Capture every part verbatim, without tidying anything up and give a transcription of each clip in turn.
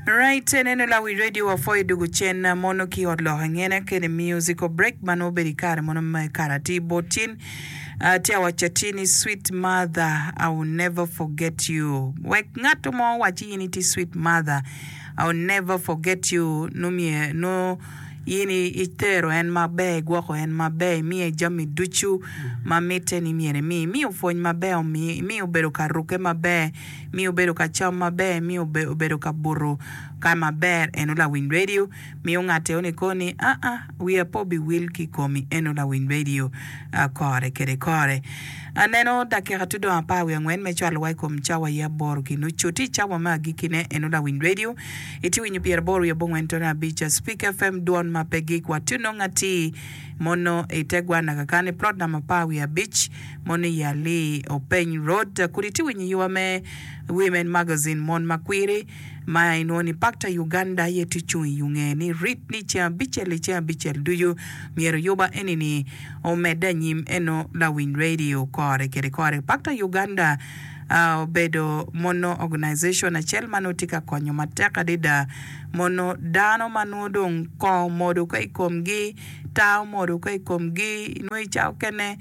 Right, eneno Lawiny Radio wapwoyo dugu cen mono ki ot lok angene kede musical break ma nongo obedo i kare mono me kare atir bot tin tye awaco atir ni sweet mother I will never forget you wek ngat mo owaci in itye sweet mother I will never forget you nongo in itero en maber igwoko en maber imiye jami ducu ma mitte ni myero imi imiyo pwony maber imiyo obedo ka rukke maber miyo obedo ka cam maber miyo obedo ka buto ka maber eno lawiny radio miyo ngat eno ni koni aa wiya pe obiwil ki komi eno lawiny radio kore kede kore aneno dakika tye dong apar wiye angwen me cwalo wa i kom cawa aye aboro ki nucu tye i cawa me agikkine eno lawiny radio itye winyo pyeraboro wiye abongwen tone abic Speak F M dwon ma pe gik watye nongo atir mono ite gwana kakani plot namba apar wiye abic mono i Ali Openy Road kodi itye winyo yuba me Women Magazine mon makwiri ma inwongo ni Pakta Uganda aye tye cung i yunge ni rit ni ceng abicel i ceng abicel ducu myero yuba eni-ni omedde anyim eno lawiny radio kore kede kore Pakta Uganda obedo mono organization acel ma nongo tye ka konyo matek adada mono dano ma nongo dong kongo omodo ka i komgi taa omodo ka i komgi nongo i cawa okene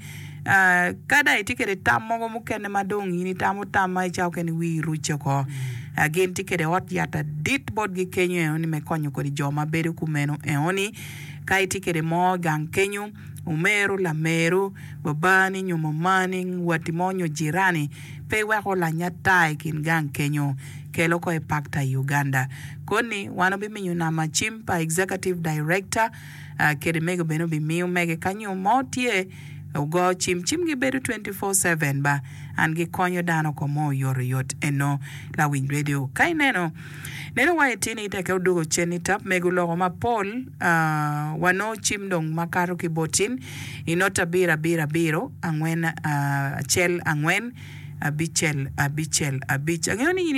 ka dong itye kwede tam mogo mukene ma dong in itamo tam ma i cawa okene wii rucce oko gin tye kwede ot yat adit botgi kenyo enoni me konyo kodi jo ma bedo kumeno enoni ka itye kwede mo gang kenyo omero lameru babani nyo mamani watti mo nyo jirani pe iwek olany ata i kin gang kenyo kelo ko i Pakta Uganda koni wan obimiyo namba cim pa executive director kede mego bene obimiyo mege kanyo mo tye ogo cim cimgi bedo twenty four seven ba an gikonyo dano ko mo oyotoyot eno lawiny radio ka ineno neno wa itini teke odwogo cen i tap mego loko mapol wanongo cim dong makato ki botin i not abiro abiro abiro angwen acel angwen abicel abicel abic angeyo ni in